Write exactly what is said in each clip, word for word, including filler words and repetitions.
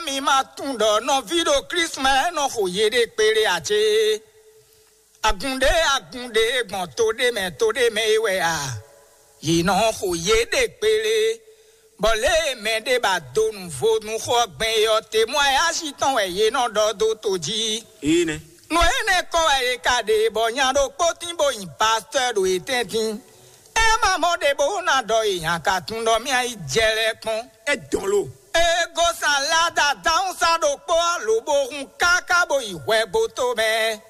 Mi ma tunwun ɖɔ nɔví ɖo Klísu mɛ nɔ xo yéɖée kpéɖé ǎ cé? Agun ɖé agun ɖé gbɔn to ɖé mɛ to ɖé mɛ é wɛ a? Yě nɔ xo yěɖée kpéɖé, bɔ lě e mɛ ɖé ba do nǔ vo nú xó ɔ́ gbɛn é ɔ́, temwáyási tɔn wɛ yě nɔ ɖɔ dó to jí. Énɛ́. Nǔ énɛ́ kɔn wɛ è ka ɖe bɔ nya ɖokpó tín bó nyi pastɔ́ ɖo yě tɛ́ntin. É ma mɔ ɖě bó ná ɖɔ è nya ka tunwun ɖɔ mì a yi jɛ lɛ́ɛ kpɔ́n. É dɔn lo. Ego salada dawun sa ɖokpó ɔ́ lobo hun káká bó yi hwɛgbo tó mɛ,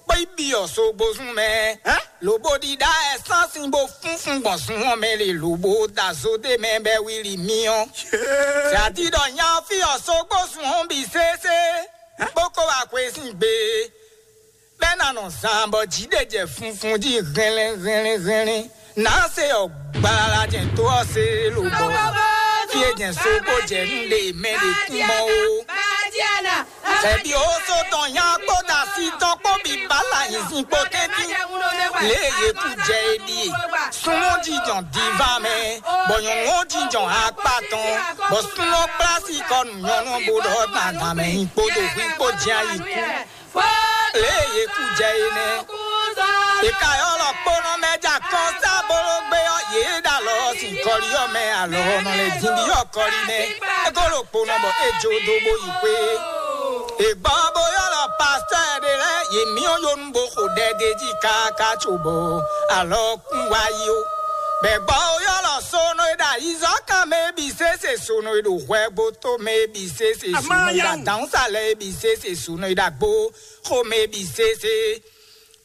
bó yi byɔ̌ sogbozún mɛ, lobo ɖiɖa ɛsánsìn bó fúnfún gbɔn zun ɔ́ mɛ lě lobo da zó ɖé mɛ bɛ́ wíli mì ɔ́. Sɛ a di ɖɔ nya ɔ́ fí ɔ́ sogbozún ɔ́ bǐ sésé, bó kó wá xwesín gbe. Bɛ́ ná nɔ zan bɔ jǐ ɖe jɛ funfun jí hɛnlɛ́n hɛnlɛ́n hɛnlɛ́n. Nǎ se ɔ gbalala jɛn tó ɔ́ se lobɔ. Fí e jɛn so bó jɛ nú ɖe mɛ ɖě kún mɔ ó. Ɛbí ó só tɔn nya kpó da sí tɔn kpó bǐ bá la nyi sin kpó tɛ́ntin. Lě e yě kú jɛ é ɖíe. Súnmọ́ jijɔn diva mɛ, bɔ nyɔ̌nu ó jijɔn akpá tɔn, bɔ súnmọ́ kplásí kɔ nǔ nyɔ́nú bó ɖɔ dandan mɛ nyi kpódó hwí kpó jɛ ayǐ kú. Lě e yě kú jɛ é nɛ́. È ka ylɔ́ kpónɔ mɛ ja kɔn sá bóló gbé ɔ́, yě ɖo alɔ ɔ́ sin kɔlí ɔ́ mɛ, alɔ ɔ́ nɔ lɛ́ din byɔ́ kɔlí mɛ. É ko ɖo kpónɔ bɔ é jó dó bó yi xwé. È gbɔ bó ylɔ́ pastɔ́ ɖé lɛ́ɛ, yě myɔ yonu bó xo ɖɛ d'é jí káká cóbɔ alɔ kún wá yi ó. Bɛ gbɔ ylɔ́ sónɔ e ɖo ayizɔ́kan mɛ é bǐ sésé, sónɔ e ɖo hwɛ gbótó mɛ é bǐ sésé, sónɔ e ɖo adǎnsálɛ é bǐ sésé, sónɔ e ɖo agbo xomɛ é bǐ sésé.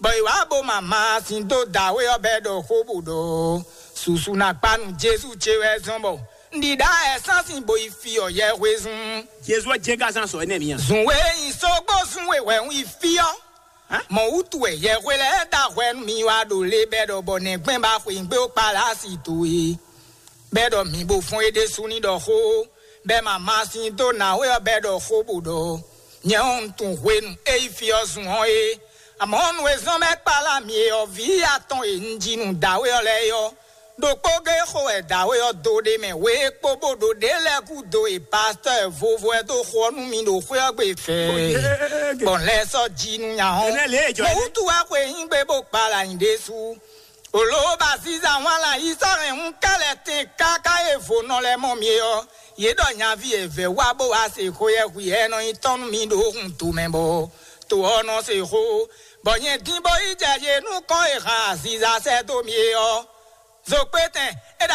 Bɔ è wǎ bo ma ma sin dó dǎwe ɔ́ bɛ́ ɖɔ xó bó ɖɔ susu ná kpá nú Jezu ce wɛ zɔn bɔ un ɖi ɖá ɛsánsìn bo yi fí ɔ́ yɛhwezun. Jezu ɔ́ jɛ́n ka zán sɔ énɛ́ mǐ a? Zun we nyi sógbó zun we wɛ un yi fí ɔ́. Mɔ̌ wútu wɛ yɛhwe lɛ́ɛ da hwɛ nú mi wá ɖo lé bɛ́ ɖɔ bɔ nɛgbɛ́n ba xweyǐgbe ó kpalá asi towe? Bɛ́ ɖɔ mǐ bo fɔ́n é ɖésú ní ɖɔ xó, bɛ́ ma ma sin dó nǎwe ɔ́ bɛ́ ɖɔ xó bó ɖɔ nyɛ ɔ́ un tunwun hwenu é yi fí ɔ́ zun ɔ́ é. Amɔ̌ nú e zɔ́n bɛ́ kpalá mi e ɔ́, vǐ atɔn e un ji nú dǎwe ɔ́ lɛ́ɛ é ɔ́, ɖokpó gé xo wɛ dǎwe ɔ́ dó ɖ'é mɛ wě kpó bó ɖo ɖě lɛ́ɛ gúdo e pastɔ́ vovo ɛ dó xo ɔ́ nú mi ɖo xwé ɔ́ gbe fɛɛ. Gbɔn lɛ́ɛ sɔ́ ji nú nya ɔ́. Mɔ̌ wútu wɛ xwe nyí gbe bó kpala nyi ɖésú. Olǒ ba zíza wán la yi sɔ́ hɛn hún kɛ́lɛ tɛn káká e vo nɔ lɛ́ɛ mɔ mi é ɔ́, yě ɖɔ nyaví e vɛ̌ wá bó wá se xó yɛ hwi ɛ nɔ nyi tɔn nú mi ɖo hun tomɛ bɔ to ɔ́ nɔ se xó, bɔ nyɛ dín bó yi jɛ yě nukɔn e han aziza sɛ́ dó mi é ɔ́. Zokpétɛn é